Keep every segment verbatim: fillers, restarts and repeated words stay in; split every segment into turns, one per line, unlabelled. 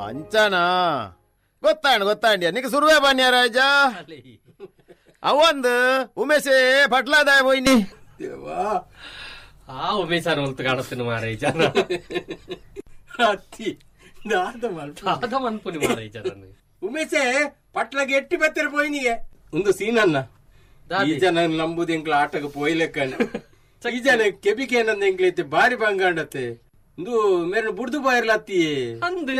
ಅಂಚನಾ ಗೊತ್ತಾಂಡ್ ಗೊತ್ತಾಂಡ್ಯ ನಿಕ್ ಸುರುವೆ ಬನ್ಯ ರಾಜ ಅವಂದು ಉಮೇಶೇ ಪಟ್ಲಾದಾಯ ಪೋಯಿನಿ
ದೇವಾ
ಆ ಉಮೇಶಾನ ಒಲ್ತು ಕಾಣಸ್ತೀನಿ ಮಾರ ಈ ಜನ
ಅತ್ತಿ ದಾದ ಮಲ್ಪ
ದಾದ ಮನ್ಪುನಿ ಮಾರ ಈ ಜನ
ಉಮೇಶೆ ಪಟ್ಲಗೆ ಎಟ್ಟಿ ಬತ್ತರ ಪೋಯಿನಿಗೆ ಒಂದು ಸೀನನ್ನ ಈ ಜನ ನಂಬುದು ಎಂಕ್ಲ ಆಟಕ್ಕೆ ಪೋಯ್ಲೆಕ್ಕಣ್ಣ ಈ ಜನ ಕೆಬಿಕೆ ಏನಂದ ಎಂಕ್ಲೈತೆ ಬಾರಿ ಬಂಗಾಂಡತ್ತೆ ಒಂದು ಮೇರೆ ಬುಡ್ದು ಬಾಯಿರ್ಲತ್ತಿ
ಅಂದ್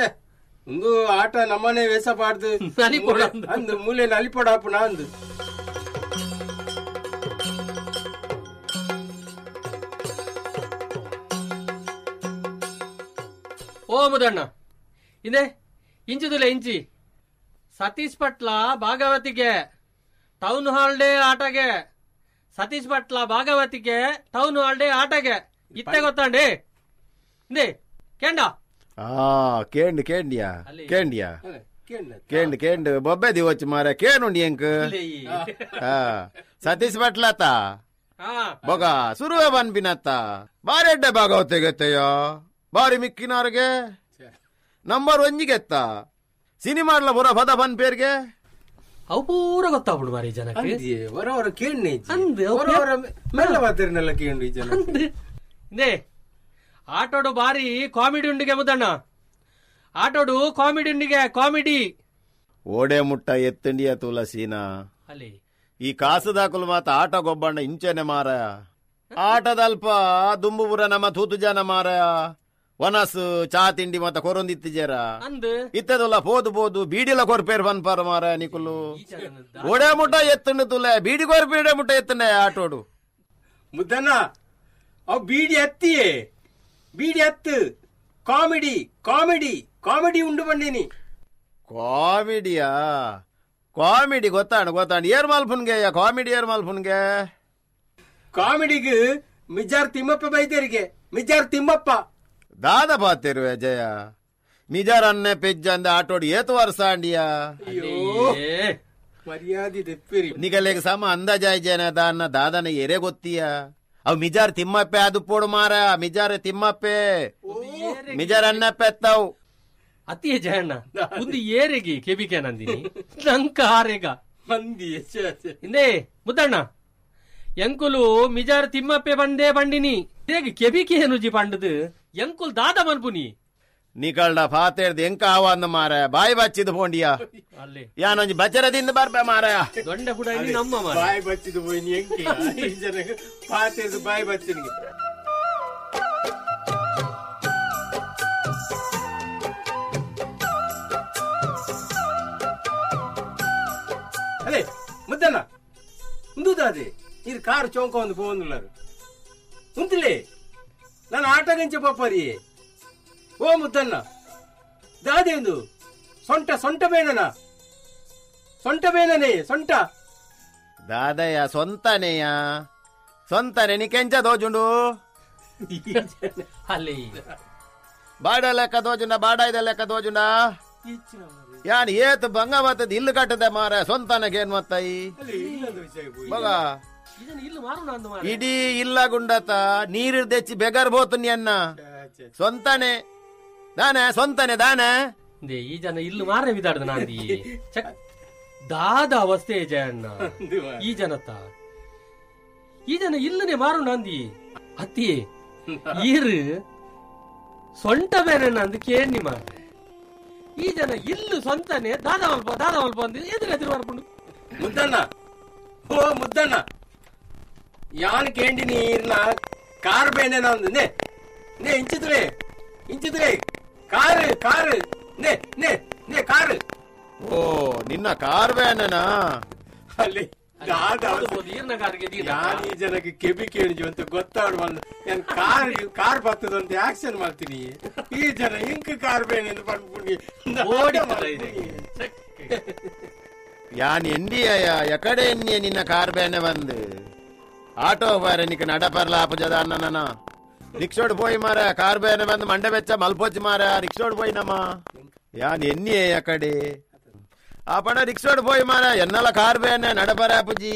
ಒಂದು ಆಟ ನಮ್ಮನೆ ವೇಸ ಪಾಡ್ದು
ನಲಿಪೊಡ ಅಂದು.
ಅಂದು ಮೂಲೆ ನಲಿಪೊಡ ಹಾಪುನ ಅಂದು
ಓ ಮುದಣ್ಣ ಇದೆ ಇಂಚುದಿಲ್ಲ ಇಂಚಿ ಸತೀಶ್ ಪಟ್ಲ ಭಾಗವತಿಗೆ ಟೌನ್ ಹಾಲ್ ಡೇ ಆಟಗೆ ಸತೀಶ್ ಪಟ್ಲ ಭಾಗವತಿಗೆ ಟೌನ್ ಹಾಲ್ ಡೇ ಆಟಗೆ ಇತ್ತೆ ಗೊತ್ತಾಂಡಿ ಇಂದೆ ಕೇಂಡ
ಆ ಕೇಂಡ್ ಕೇಂಡಿಯಾ
ಅಲ್ಲಿ.
ಕೇಂಡಿಯಾ
ಅಲ್ಲ, ಕೇಳ್ನ.
ಕೇಂಡ್ ಕೇಂಡ್ ಬೊಬ್ಬೆ ದಿವಚ್ ಮಾರ ಕೇನುಂಡಿ ಎಂಕ್ ಆ, ಸತೀಶ್ ಭಟ್ಲತ
ಹಾ
ಬೊಗ ಸುರುವೆ ಬನ್ಪಿನತ್ತ ಬಾರಿ ಎಡ್ಡೆ ಭಾಗವತಿಗೆ ಗೆತ್ತಯ್ಯ ಬಾರಿ ಮಿಕ್ಕಿನಾರ್ಗೆ ನಂಬರ್ ಒಂಜಿಗೆತ್ತ ಸಿನಿಮಾಡ್ಲ ಬುರ ಪದ ಬನ್ಪೇರ್ಗೆ
ಅವು ಪೂರ ಗೊತ್ತಾಗ್ಬಿಡು ಮಾರಿ ಜನಕ್ಕೆ
ಅಂದ್ಯೆ, ಹೊರ ಹೊರ ಕೇಳ್ನೆ ಇಜ್ಜಿ.
ಅಂದ್, ಅವು
ಹೊರ ಹೊರ ಮೆಲ್ಲ ಬಾತಿರ್ನೆಲ್ಲ ಕೇಂಡು ಈ ಜನ
ಅಂದ್ ಇಂದೆ ಆಟೋಡು ಬಾರಿ ಕಾಮಿಡಿ ಉಂಡಿಗೆ ಮುದಣ್ಣ ಆಟೋಡು ಕಾಮಿಡಿ ಉಂಡಿಗೆ ಕಾಮಿಡಿ
ಓಡೆ ಮುಟ್ಟ ಎತ್ತಂಡಿಯ ತುಳಸೀನಾ
ಅಲ್ಲಿ
ಈ ಕಾಸುದಾಕುಲು ಮಾತ ಆಟ ಗೊಬ್ಬಣ್ಣ ಇಂಚೆನೆ ಮಾರ ಆಟದಲ್ಪ ದುಂಬುಪುರ ನಮ್ಮ ತೂತು ಜನ ಮಾರ ವನಸು ಚಾ ತಿಂಡಿ ಮತ್ತ ಕೊರೊಂದಿತ್ತಿಜೇರ
ಅಂದ್
ಇತ್ತದಲ್ಲ ಪೋದು ಪೋದು ಬೀಡಿಲ ಕೊರ್ಪೇರ್ ಪನ್ಪಾರ ಮಾರ ನಿಕುಲು
ಈ ಜನದ
ಓಡೆ ಮುಟ್ಟ ಎತ್ತಂಡು ತುಲೆ ಬೀಡಿ ಕೊರ್ಪೇಡೆ ಮುಟ್ಟ ಎತ್ತಂಡೆ ಆಟೋಡು
ಮುದ್ದಣ್ಣ ಅವು ಬೀಡಿ ಹತ್ತಿಯೇ ಬೀಡಿ ಹತ್ತು ಕಾಮಿಡಿ ಕಾಮಿಡಿ ಕಾಮಿಡಿ ಉಂಡು ಬಂಡೀನಿ
ಕಾಮಿಡಿಯಾ ಕಾಮಿಡಿ ಗೊತ್ತಾಣ ಗೊತ್ತಾಣ ಏರ್ ಮಾಲ್ಪುನ್ಗೆ ಕಾಮಿಡಿ ಏರ್ ಮಾಲ್ಪುನ್ಗೆ
ಕಾಮಿಡಿಗೆ ಮಿಜಾರ್ ತಿಮ್ಮಪ್ಪ ಬೈದೇರಿಗೆ ಮಿಜಾರ್ ತಿಮ್ಮಪ್ಪ
ದಾದ ಪಾತಿರುವೆ ಜಯ ಮಿಜಾರ್ ಅನ್ನೆ ಪೆಜ್ಜ ಅಂದ ಆಟೋಡು ಏತು ವರ್ಷ ಅಂಡಿಯಾ
ಅಯ್ಯೋ
ಏ
ಮರ್ಯಾದೆ ದೆಪ್ಪಿರಿ
ನಿಗಲೆಗ್ ಸಮ ಅಂದಾಜಾಯ್ ಜನ ದಾನ್ನ ದಾದನ ಎರೆ ಗೊತ್ತೀಯ ಅವ್ ಮಿಜಾರ್ ತಿಮ್ಮಪ್ಪೆ ಅದು ಪೋಡು ಮಾರ ಮಿಜಾರ್ ತಿಮ್ಮಪ್ಪೆ ಮಿಜಾರ್ ಅನ್ನಪ್ಪೆ ಎತ್ತವು
ಅತಿಯ ಜಯಣ್ಣ ಒಂದು ಏರೆಗಿ ಕೆಬಿಕೆ ನಂದಿನಿ ನಂಕ ಆರೇಗ
ಮಂದಿ ಛೆ, ಛೆ.
ಇಂದೇ ಮುದ್ದಣ್ಣ ಎಂಕುಲು ಮಿಜಾರ್ ತಿಮ್ಮಪ್ಪೆ ಬಂದೇ ಬಂಡಿನಿ ಹೇಗೆ ಕೆಬಿಕೆ ನುಜಿ ಪಂಡದು ಎಂಕುಲ್ ದಾದ ಮನ್ಪುನಿ
ನಿಕಲ್ಡ ಫಾತೇರ್ದು ಎಂಕ ಆವ ಅಂದ ಮಾರ ಬಾಯಿ ಬಚ್ಚಿದ್ ಪೋಂಡಿಯ
ಅಲ್ಲಿ
ಯಾನೊಂಜಿ ಬಚ್ಚರದಿಂದ ಬರ್ಬೆ ಮಾರಾಯ
ದೊಂಡ ಕೂಡ ಇಲ್ಲಿ ನಮ್ಮ ಮಾರ
ಬಾಯಿ ಬಚ್ಚಿದು ಪೋಯಿನಿ ಎಂಕ್ಲ ಈ ಜನಕ್ಕೆ ಪಾತೇದು ಬಾಯಿ ಬಚ್ಚಿನಿಗೆ ಅದೇ ಮುದ್ದಣ್ಣ ಉಂದುದಾದೆ ಇದು ಕಾರು ಚೌಕ ಒಂದು ಪೋಂದುಳ್ಳಾರು ಉಂತಲೇ ನಾನು ಆಟಗಂಚ ಪಾಪರಿ ಓ ಮುದ್ದಣ್ಣ ದಾದೆ ಒಂದು ಸೊಂಟ ಸೊಂಟ ಬೇನನ ಸೊಂಟ ಬೇನನೇ ಸೊಂಟ
ದಾದಯ್ಯ ಸ್ವಂತನೇಯ ಸ್ವಂತನೆ ನೀ ಕೆಂಚ ದೋಜುಂಡು
ಅಲ್ಲಿ
ಬಾಡ ಲೆಕ್ಕ ದೋಜುಂಡ ಬಾಡ ಇದ ಲೆಕ್ಕ ದೋಜುಂಡ ಯಾನ್ ಏತ್ ಬಂಗ ಬತ್ತದ ಇಲ್ಲು ಕಟ್ಟದೆ ಮಾರ ಸ್ವಂತನಗೆ ಏನ್ ಮತ್ತೈ ಮಗ
ಇದನ್ನ ಇಲ್ಲಿ ಮಾರೋಣ ಅಂದ ಮಾರ
ಇಡೀ ಇಲ್ಲ ಗುಂಡತ ನೀರು ದೆಚ್ಚಿ ಬೆಗರ್ ಬೋತು ಅನ್ನ ಸ್ವಂತನೆ ದಾನೆ ಸ್ವಂತನೆ ದಾನೆ
ಇಂದೇ ಈ ಜನ ಇಲ್ಲಿ ಮಾರನೆ ಬಿದಾಡ್ದ ನಾಂದಿ ಚಕ್ ದಾದ ಅವಸ್ಥೆ ಜಯಣ್ಣ ಈ ಜನತ ಈ ಜನ ಇಲ್ಲನೆ ಮಾರು ನಾಂದಿ ಅತ್ತಿ ಈರು ಸೊಂಟ ಬೇರೆ ನಂದು ಕೇಣಿ ಮಾರ್ರೆ ಈ ಜನ ಇಲ್ಲು ಸ್ವಂತನೆ ದಾದ ಮಲ್ಪ ದಾದ ಮಲ್ಪ ಅಂದ್ ಎದುರು ಎದುರು ಮಾರ್ಕೊಂಡು
ಮುದ್ದಣ್ಣ ಓ ಮುದ್ದಣ್ಣ ಯಾನ್ ಕೇಂಡಿ ನೀರ್ನ ಕಾರ್ ಬೇನೆ ನಂದು ನೇ ನೇ ಇಂಚಿದ್ರೆ ಇಂಚಿದ್ರೆ ಕಾರು ಕಾರು ನೇ ನೇ ನೇ ಕಾರು
ಓ ನಿನ್ನ ಕಾರ್ ಬೇನನಾ
ಅಲ್ಲಿ ದಾದ
ಈರ್ನ ಕಾರ್ಗೆ ದೀರ್ನ.
ಯಾನ್ ಈ ಜನಕ್ಕೆ ಕೆಬಿ ಕೇಳಿಜು ಅಂತ ಗೊತ್ತಾಡು ಬಂದು ನಾನು ಕಾರ್ ಕಾರ್ ಬರ್ತದಂತ ಆಕ್ಷನ್ ಮಾಡ್ತೀನಿ ಈ ಜನ ಇಂಕ್ ಕಾರ್ ಬೇನೆ ಅಂತ ಪಡ್ಕೊಂಡು
ಓಡಿತ್ತಲ್ಲ ಇದು. ಚಕ್.
ಯಾನ್ ಎಂಡಿಯ ಎಕಡೆ ಎನ್ನಿಯ ನಿನ್ನ ಕಾರ್ ಬೇನೆ ಬಂದು ಆಟೋ ಬಾರೆ ನಿಕ್ ನಡಪರ್ಲ ಆಪುಜದ ಅನ್ನ ರಿಕ್ಷೋಡ್ ಪೋಯಿ ಮಾರ ಕಾರ್ ಬೇನೆ ಬಂದು ಮಂಡೆ ಬೆಚ್ಚ ಮಲ್ಪೋಚಿ ಮಾರ ರಿಕ್ಷೋಡ್ ಪೋಯಿ ನಮ್ಮ ಯಾನ್ ಎನ್ನಿಯೇ ಯಕಡೆ ಆ ಪಣ ರಿಕ್ಷೋಡ್ ಪೋಯಿ ಮಾರ ಎನ್ನಲ ಕಾರ್ ಬೇನೆ ನಡಪರ ಆಪುಜಿ.